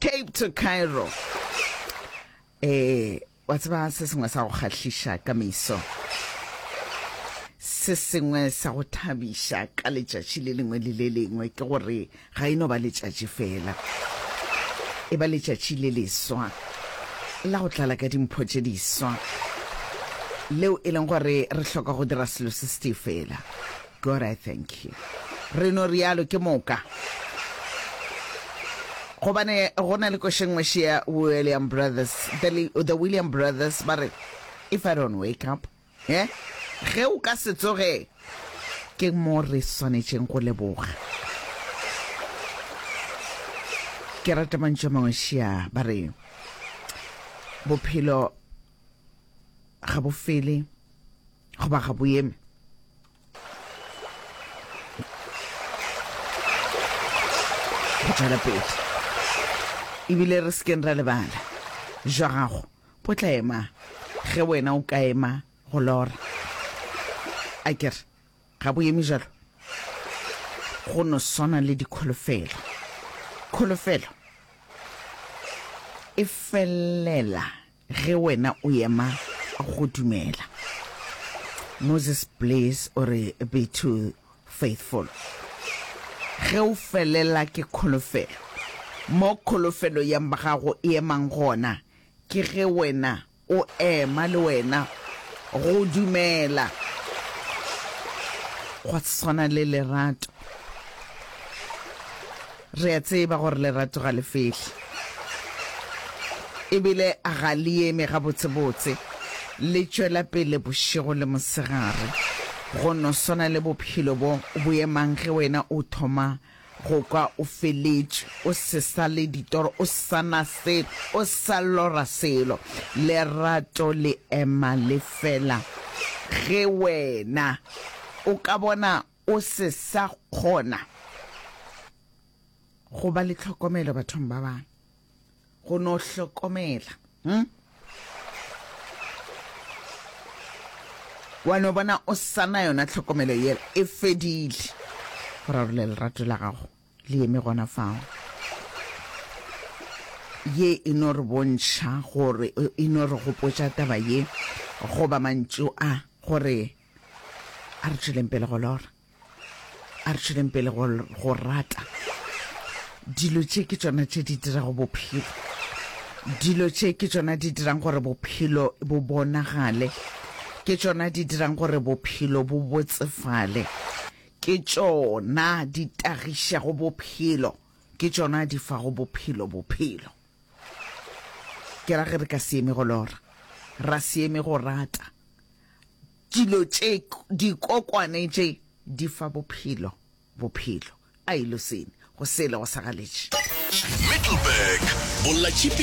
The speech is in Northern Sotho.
Cape to Cairo. Eh, wa tseba se sengwe sa go kgahliša ka meso. Se sengwe sa go thabiša ka letšatši le lengwe le le lengwe ke gore ga e no ba letšatši fela. E ba letšatši le leswa la go tlala ka dimpho tše diswa leo e leng gore re hloka go dira selo se setee fela. God I thank you. Re no rialo ke moka. Gobane go na le koša nngwe še ya William Brothers, the, the William Brothers ba re, if I don't wake up, eh, ge o ka se tsoge, ke mo re swanetšeng go leboga. Ke rata mantšu a mangwe šia ba re, bophelo ga bo fele goba ga bo eme. Go tšwela pele ebile re sekeng ra lebala jwa gago bo tla ema ge wena o ka ema go lora. A ke re ga bo eme jalo? Go no swana le dikholofelo. Kholofelo e felela Ge wena o ema go dumela. Moses Bliss o re, Be too faithful. Ge o felela ke kholofelo, mo kholofelo ya gago e emang gona, ke ge wena o ema le wena go dumela. Gwa swana le lerato. Re a tseba gore lerato ga le fele, e bile ga le eme gabotsebotse, le tšwela pele bošego le mosegare, go no swana le bophelo bo bo emang ge wena o thoma go kwa o feletšwe, o se sa le ditoro, o sa na selo, o sa lora selo. Lerato le ema le fela ge wena o ka bona O se sa kgona go ba le tlhokomelo bathong ba bangwe, go no hlokomela. Hm? Wa no bona o sa na yona tlhokomelo yela, e fedile. Go rarolla lerato la gago le eme gona fao. Ye e no re bontšha gore, e no re gopotša taba ye, goba mantšu a, gore A re tšweleng pele go lora. A re tšweleng pele go, go rata. Dilo tše ke tšona tše di dirago bophelo. Dilo tše ke tšona di dirang gore bophelo bo bonagale. Ke tšona di dirang gore bophelo bo botsefale. Ke tšona di tagišago bophelo. Ke tšona di fago bophelo bophelo. Ke ra ge re ka se eme go lora, ra se eme go rata. Dilo tše, dikokwane tše, di fa bophelo, bophelo. A e losene, go sele go sa galetše. Middelburg, Bolla tšhipi.